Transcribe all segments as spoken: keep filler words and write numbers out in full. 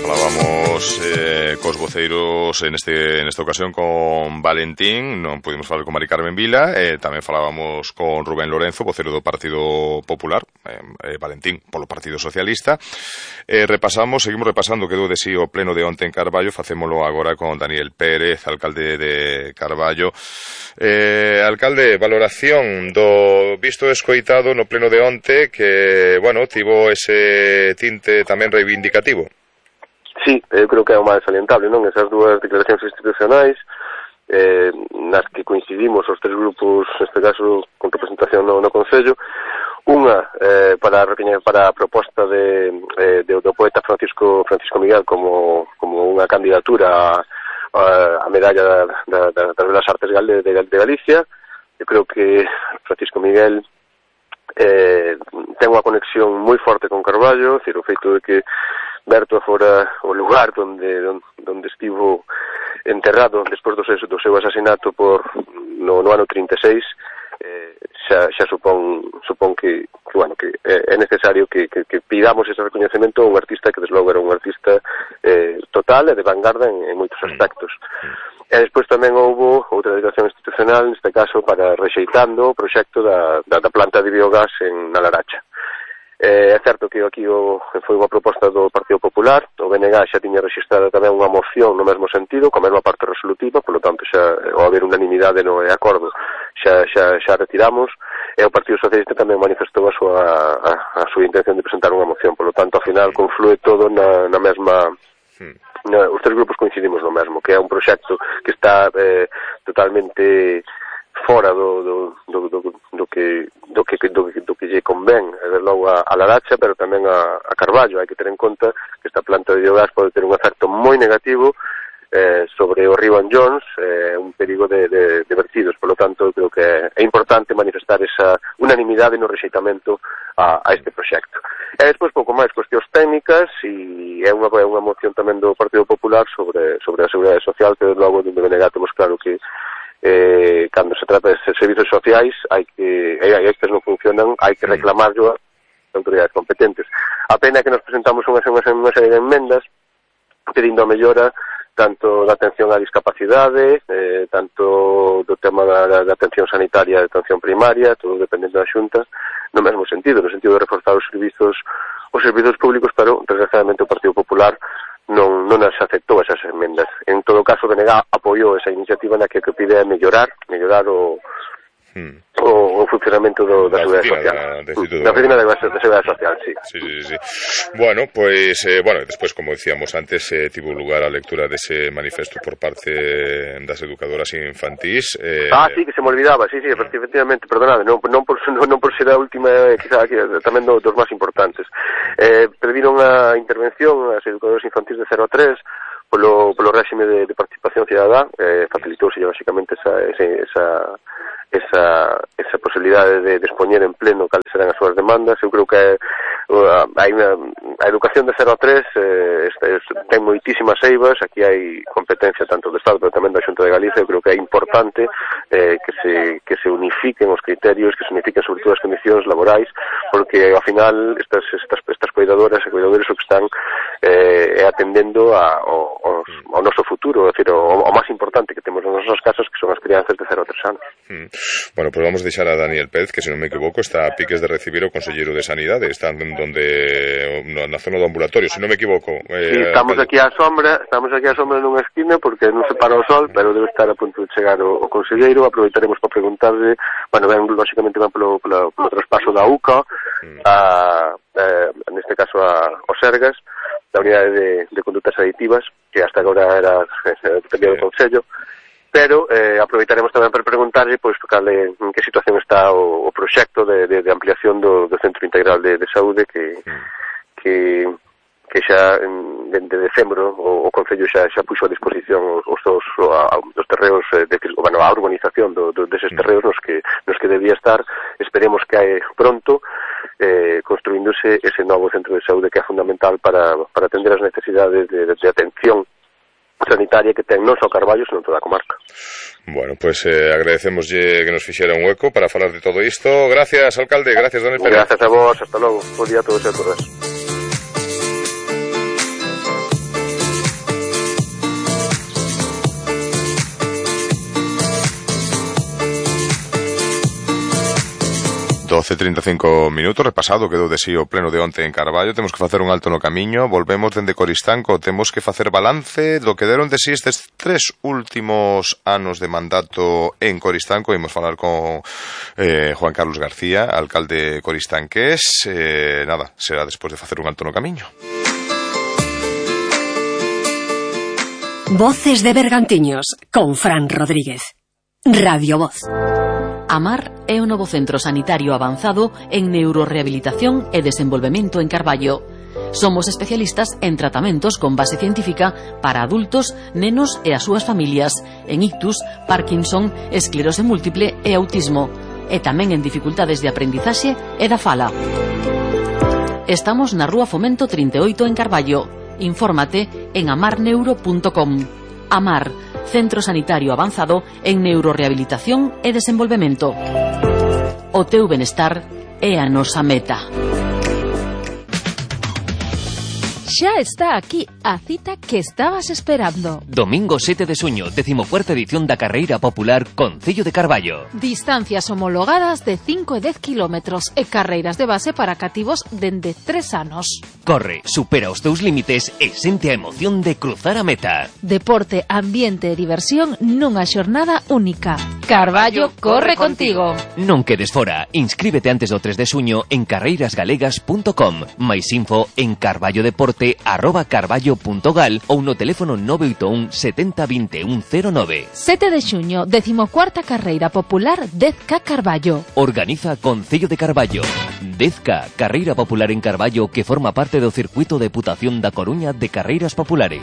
Falábamos eh, cos voceiros en este en esta ocasión con Valentín, non pudimos falar con Mari Carmen Vila, eh, tamén falábamos con Rubén Lorenzo, vocero do Partido Popular, eh, eh, Valentín polo Partido Socialista. Eh, repasamos, seguimos repasando que do de si o pleno de onte en Carballo, facémolo agora con Daniel Pérez, alcalde de Carballo. Eh, alcalde, valoración do visto e escoitado no pleno de onte que, bueno, tivo ese tinte tamén reivindicativo. Sí, eu creo que é o máis salientable, non? Esas dúas declaracións institucionais eh, nas que coincidimos os tres grupos, neste caso con representación no, no Concello, unha eh, para para a proposta de, eh, de, do poeta Francisco Francisco Miguel como, como unha candidatura a, a medalla da, da, das Belas Artes de, de, de Galicia. Eu creo que Francisco Miguel eh, ten unha conexión moi forte con Carballo, decir, o feito de que Berto fora o lugar donde donde estivo enterrado despois do seu, do seu asasinato por no, no ano trinta e seis, eh, xa, xa supón supón que, que bueno, que é necesario que, que, que pidamos ese reconhecemento a un artista que desde logo era un artista eh, total e de vanguarda en, en moitos aspectos. E despois tamén houve outra declaración institucional, neste caso para rexeitando o proxecto da, da, da planta de biogás en Nalaracha. Eh, é certo que aquí o, foi unha proposta do Partido Popular, o B N G xa tiña registrado tamén unha moción no mesmo sentido, con a mesma parte resolutiva, polo tanto xa ao haber unanimidade no acordo xa, xa, xa retiramos, e o Partido Socialista tamén manifestou a súa, a, a súa intención de presentar unha moción, polo tanto ao final conflúe todo na, na mesma... Na, os tres grupos coincidimos no mesmo, que é un proxecto que está eh, totalmente fora do, do, do, do, do que do que do, do que lle convén, desde logo a, a Laracha, pero tamén a, a Carballo. Hai que ter en conta que esta planta de biogás pode ter un efecto moi negativo eh, sobre o río Anllóns, eh, un perigo de, de, de vertidos. Por lo tanto, creo que é importante manifestar esa unanimidade no rexeitamento a, a este proxecto. E despois, pouco máis, cuestións técnicas, e é unha, é unha moción tamén do Partido Popular sobre, sobre a Seguridade Social, que logo de B N G temos claro que eh, cando se trata de servizos sociais, hai que, e estes non funcionan, hai que reclamarlo a autoridades competentes. A pena que nos presentamos unha, unha, unha serie de enmendas pedindo a mellora tanto da atención á discapacidade, eh, tanto do tema da, da, da atención sanitaria e atención primaria, todo dependendo da Xunta, no mesmo sentido, no sentido de reforzar os servizos os servizos públicos, pero desgraciadamente o Partido Popular non, non as aceptou esas enmendas. En todo caso, o B N G apoiou esa iniciativa na que o que pide é mellorar, mellorar o, hmm. o, o funcionamento do, da Seguridade Social. Da oficina da Seguridade Social, sí. Sí, sí, sí. Bueno, pues, eh, bueno, despois, como decíamos antes, eh, tivo lugar a lectura dese manifesto por parte das educadoras infantís. Eh... Ah, sí, que se me olvidaba, sí, sí, efectivamente, perdonade, non, non, por, non, non por ser a última, eh, quizá aquí, tamén do, dos máis importantes. Eh, pediron a intervención as educadoras infantís de cero a tres polo, polo réxime de, de participación cidadá, eh, facilitouse basicamente esa, esa, esa, esa posibilidade de, de expoñer en pleno cales serán as súas demandas. Eu creo que uh, hai unha, a educación de cero a tres eh, este, ten moitísimas eivas, aquí hai competencia tanto do Estado pero tamén da Xunta de Galicia. Eu creo que é importante eh, que, se, que se unifiquen os criterios, que se unifiquen sobre todo as condicións laborais, porque ao final estas, estas, estas cuidadoras e cuidadores o que están eh, é atendendo a, ao, ao, ao noso futuro, é dicir, o, o máis importante que temos nos nosos casos, que son as crianzas de cero a tres anos. Mm. Bueno, pues vamos a deixar a Daniel Pérez, que se non me equivoco está a piques de recibir o Conselleiro de Sanidade, está donde na zona do ambulatorio, se non me equivoco. Eh, sí, estamos aquí á sombra, estamos aquí á sombra nunha esquina porque non se para o sol, pero debe estar a punto de chegar o, o Conselleiro. Aproveitaremos para preguntarle, bueno, ven, lógicamente van polo, polo, polo traspaso da U C A, mm. a, eh, neste caso a, o Sergas, da Unidade de, de Condutas Aditivas, que hasta agora era dependía do Concello. Pero eh, aproveitaremos tamén para preguntarlle pois cale, en que situación está o, o proxecto de, de, de ampliación do, do Centro Integral de, de Saúde que, mm. que, que xa en, de, de decembro o, o Concello xa, xa puxo a disposición os, os, os, os terreos de, bueno, a urbanización do, do, deses terreos nos que, nos que debía estar. Esperemos que hai pronto eh, construíndose ese novo Centro de Saúde que é fundamental para, para atender as necesidades de, de, de atención sanitaria que ten non só Carballo, senón toda a comarca. Bueno, pues eh, agradecemoslle que nos fixera un hueco para falar de todo isto. Gracias, alcalde, gracias, Daniel Pérez. Gracias a vos, hasta logo. Bo día a todos e a todas. doce e trinta e cinco minutos, repasado quedou de si o pleno de onte en Carballo. Temos que facer un alto no camiño, volvemos dende Coristanco, temos que facer balance do que deron de si estes tres últimos anos de mandato en Coristanco. Imos falar con eh, Juan Carlos García, alcalde coristanqués. Eh, nada, será despois de facer un alto no camiño. Voces de Bergantiños, con Fran Rodríguez. Radio Voz. AMAR é o novo centro sanitario avanzado en neurorehabilitación e desenvolvemento en Carballo. Somos especialistas en tratamentos con base científica para adultos, nenos e as súas familias, en ictus, Parkinson, esclerose múltiple e autismo, e tamén en dificultades de aprendizaxe e da fala. Estamos na Rúa Fomento trinta e oito en Carballo. Infórmate en amar neuro punto com. AMAR, Centro Sanitario Avanzado en Neurorehabilitación e Desenvolvemento. O teu benestar é a nosa meta. Xa está aquí a cita que estabas esperando. Domingo sete de xuño, decimocuarta edición da Carreira Popular Concello de Carballo. Distancias homologadas de cinco e dez kilómetros e carreiras de base para cativos dende tres anos. Corre, supera os teus límites e sente a emoción de cruzar a meta. Deporte, ambiente e diversión nunha xornada única. Carballo corre contigo. Non quedes fora, inscríbete antes do tres de xuño en carreiras galegas punto com. Mais info en carballodeporte arroba carballo punto gal ou no teléfono nove oito un setenta vinte e un cero nove. sete de xuño, decimocuarta Carreira Popular dez K Carballo. Organiza Concello de Carballo. dez K, Carreira Popular en Carballo, que forma parte do circuito de Deputación da Coruña de Carreiras Populares.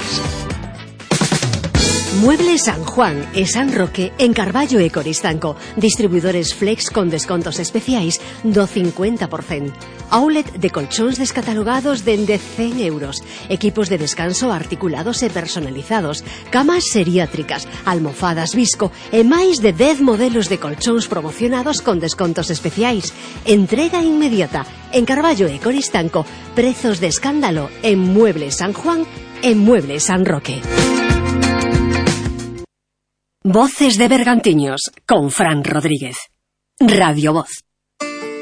Muebles San Juan e San Roque en Carballo e Coristanco. Distribuidores Flex con descontos especiais do cincuenta por cento. Outlet de colchóns descatalogados dende cen euros. Equipos de descanso articulados e personalizados. Camas seriátricas, almofadas Visco e máis de dez modelos de colchóns promocionados con descontos especiais. Entrega inmediata en Carballo e Coristanco. Prezos de escándalo en Muebles San Juan e Muebles San Roque. Voces de Bergantiños, con Fran Rodríguez. Radio Voz.